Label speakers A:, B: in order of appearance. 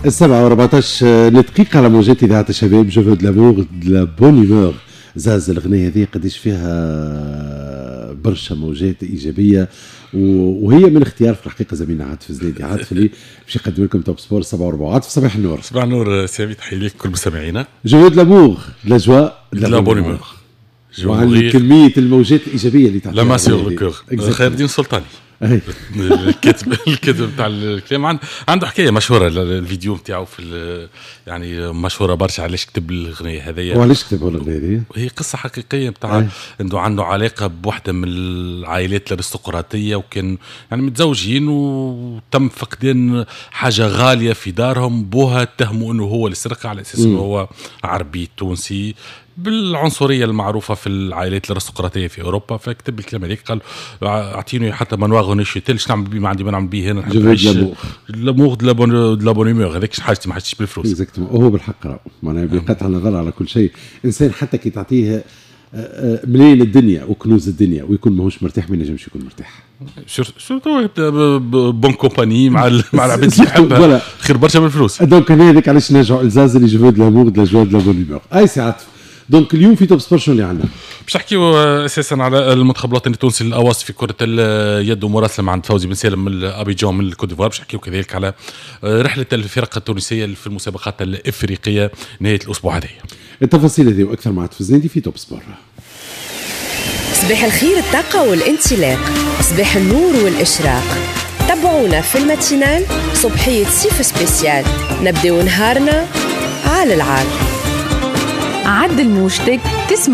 A: 7:14 على موجات إذاعة الشباب. je veux de l'amour، de la bonne humeur. زاز الأغنية هذه قديش فيها برشا موجات إيجابية، وهي من اختيار في الحقيقة زميلنا عاطف زنيدي. عاطف اللي باش يقدم لكم Top Sport 7:04. عاطف، صباح النور.
B: صباح النور سامي، تحية لك كل مستمعينا.
A: je veux de l'amour، de la joie،
B: de la bonne humeur.
A: وعن كمية الموجات الإيجابية اللي
B: تعطيها la main sur le cœur. خير الدين السلطاني الكاتب بتاع الكلام عنده حكاية مشهوره، الفيديو نتاعو في يعني مشهورة برشا، علاش كتب الاغنية هذيا.
A: وعلاش كتب الاغنية هذه؟
B: هي قصة حقيقية بتاع انه عنده علاقة بوحده من العائلات الارستقراطيه، وكان يعني متزوجين وتم فقدان حاجة غالية في دارهم. بوها اتهموا انه هو اللي سرقها على اساس انه هو عربي تونسي، بالعنصريه المعروفة في العائلات الارستقراطيه في اوروبا. فكتب الكلام هذيك، قال اعطيني حتى manoir Neuchâtel، نعمل بيه؟ ما عندي ما نعمل بيه هنا.
A: نحب نعيش
B: l'amour، de la bonne humeur. هذاك حاجتي، ما حاجتيش بالفلوس.
A: exactement، هو بالحق راهو معناها بقطع النظر على كل شيء، انسان حتى كي تعطيه ملايين الدنيا وكنوز الدنيا ويكون ماهوش مرتاح، ما ينجمش يكون مرتاح.
B: surtout bonne compagnie مع العباد اللي يحبها خير برشا من الفلوس.
A: donc هذاك علاش نرجعوا الزاز اللي je veux de l'amour، de la joie، de la bonne humeur. اي سي عاطف، donc اليوم في Top Sport شنو اللي عندنا؟
B: باش نحكيو اساسا على المنتخب الوطني التونسي الاواصي في كره اليد ومراسله مع عند فوزي بن سالم من ابيجان من الكوت ديفوار. باش نحكيو كذلك على رحله الفرق التونسية في المسابقات الافريقية نهاية الاسبوع هذا.
A: التفاصيل هذه واكثر مع الزنيدي في Top Sport.
C: صباح الخير، الطاقة والانطلاق، صباح النور والإشراق. تابعونا في ال matinale صبحية صيف spécial، نبداو نهارنا على العال.
D: عدل موجتك تسمع.